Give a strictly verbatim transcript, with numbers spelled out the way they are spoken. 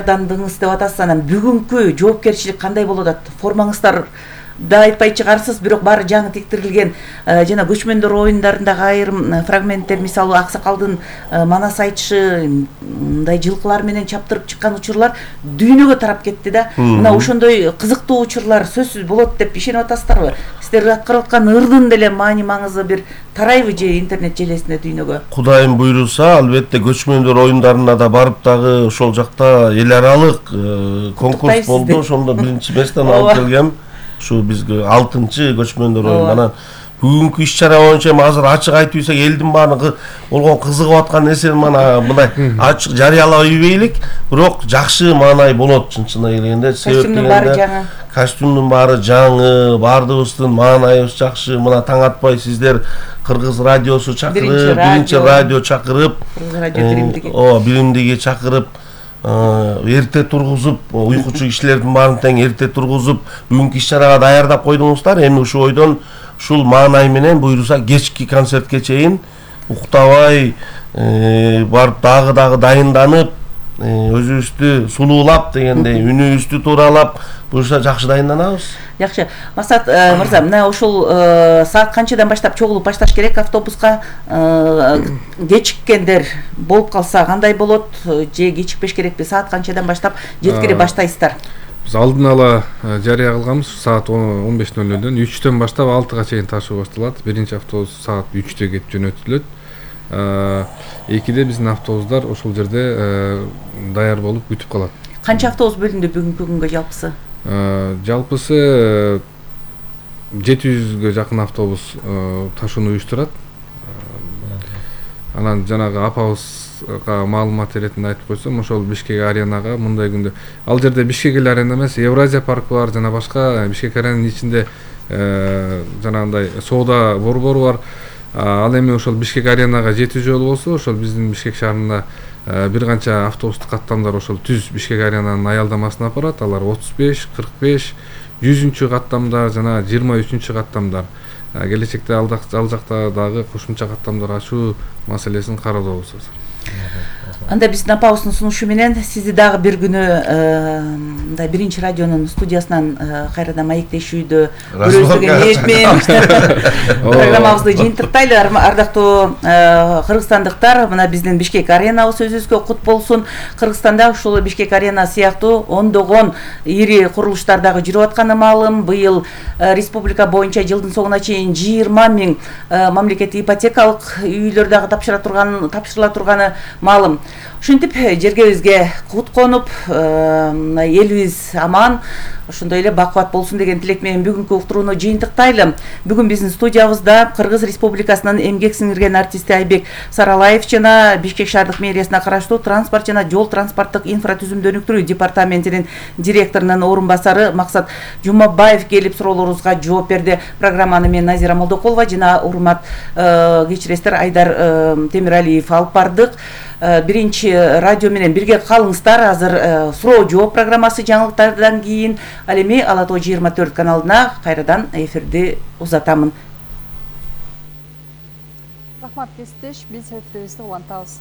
даярдандыңыз деп атасыз, анан бүгүнкү жоопкерчилик кандай болот атат? Формаңыздар да айтпай чыгарсыз, бирок баары жаңы тектирилген жана көчмөндөр оюндарындагы айрым фрагменттер, мисалы Аксакалдын манас айтышы, мындай жылкылар менен чаптырып чыккан учурлар дүйнөгө тарап кетти да. Мына ошондой кызыктуу учурлар сөзсүз болот деп ишенип атасыздарбы? Сиздер аткарып аткан ырдын деле маани маңызы бир тарайбы же интернет желесинде дүйнөгө? Кудайым буйруса, албетте көчмөндөр оюндарына да барып дагы ошол жакта эл аралык конкурс болду. Ошондо биринчи месттен алып келгем. Şu bizge altıncı göçmönдөр oyunu. Анан бүгүнкү иш-чара боюнча азыр ачык айтып ийсек, элдин баары болгон кызыгып аткан нерсени мына мындай ачык жарыялап ийбейлик, бирок жакшы маанай болот чын-чынына келгенде. Костюмдун баары жаңы. Костюмдун баары жаңы, баардыгыбыздын маанайыбыз жакшы. Мына таң атпай сиздер Кыргыз радиосу чакырып, биринчи радио чакырып, Кыргыз радио биримдиги. О, биримдиги чакырып, эрте тургузуп, уйкучу кишилердин баарын тең эрте тургузуп, бүгүнкү иш-чарага даярдап койдуңуздар. Эми ушул ойдон ушул маанай менен буйруса кечки концертке чейин уктабай барып дагы дагы дайынданып, өзүбүздү сулуулап дегендей, үнүбүздү тууралап, буюрса жакшы дайынданабыз. Жакшы. Максат мырза, мына ушул саат канчадан баштап чогулуп башташ керек автобуска? Кечиккендер болуп калса кандай болот? Же кечикпеш керекпи? Саат канчадан баштап жеткире баштайсыздар? Биз алдын ала жарыя кылганбыз, саат он беш ноль нөлдөн үчтөн баштап алтыга чейин ташуу башталат. Биринчи автобус саат үчтө кетип жөнөтүлөт. Экиде биздин автобустар ошол жерде даяр болуп күтүп калат. Канча автобус бөлүндү бүгүнкү күнгө жалпысы? Жалпысы жети жүзгө жакын автобус ташууну уюштурат. Анан жанагы апабызга маалымат иретинде айтып койсом, ошол Бишкек аренага мындай күндө, ал жерде Бишкек эле арена эмес, Евразия паркы бар жана башка Бишкек аренанын ичинде жанагындай соода борбору бар. Ал эми ошол Бишкек аренага жетүү жолу болсо, ошол биздин Бишкек шаарында бир канча автобустук каттамдар ошол түз Бишкек аренанын аялдамасына апарат. Алар отуз беш, кырк беш, жүзүнчү каттамдар жана жыйырма үчүнчү каттамдар. Келечекте ал жакта дагы кошумча каттамдар ачуу маселесин кароодобуз. Анда биздин апабыздын сунушу менен сизди дагы бир күнү мындай биринчи радионун студиясынан кайрадан маектешүүдө көрөбүз деген ниет менен программабызды жыйынтыктайлы. Ардактуу кыргызстандыктар, мына биздин Бишкек аренабыз өзүбүзгө кут болсун. Кыргызстанда ушул Бишкек арена сыяктуу ондогон ири курулуштар дагы жүрүп атканы маалым. Быйыл республика боюнча жылдын соңуна чейин жыйырма миң мамлекеттик ипотекалык үйлөр дагы тапшыра турган тапшырыла турганы маалым. Ушинтип жергебизге кут конуп, элибиз аман, ошондой эле бакубат болсун деген тилек менен бүгүнкү уктурууну жыйынтыктайлы. Бүгүн биздин студиябызда Кыргыз Республикасынын эмгек сиңирген артисти Айбек Саралаев жана Бишкек шаардык мэриясына караштуу транспорт жана жол транспорттук инфратүзүмдү өнүктүрүү департаментинин директорунун орун басары Максат Жумабаев келип суроолорубузга жооп берди. Программаны мен Назира Молдокулова жана урмат кечиресиздер Айдар Темиралиев алып бардык. Биринчи радио менен бирге калыңыздар. Азыр суроо жооп программасы жаңылыктардан кийин. Ал эми Ала Тоо жыйырма төрт каналына кайрадан эфирди узатамын. Рахмат кесиптеш, биз эфирибизди улантабыз.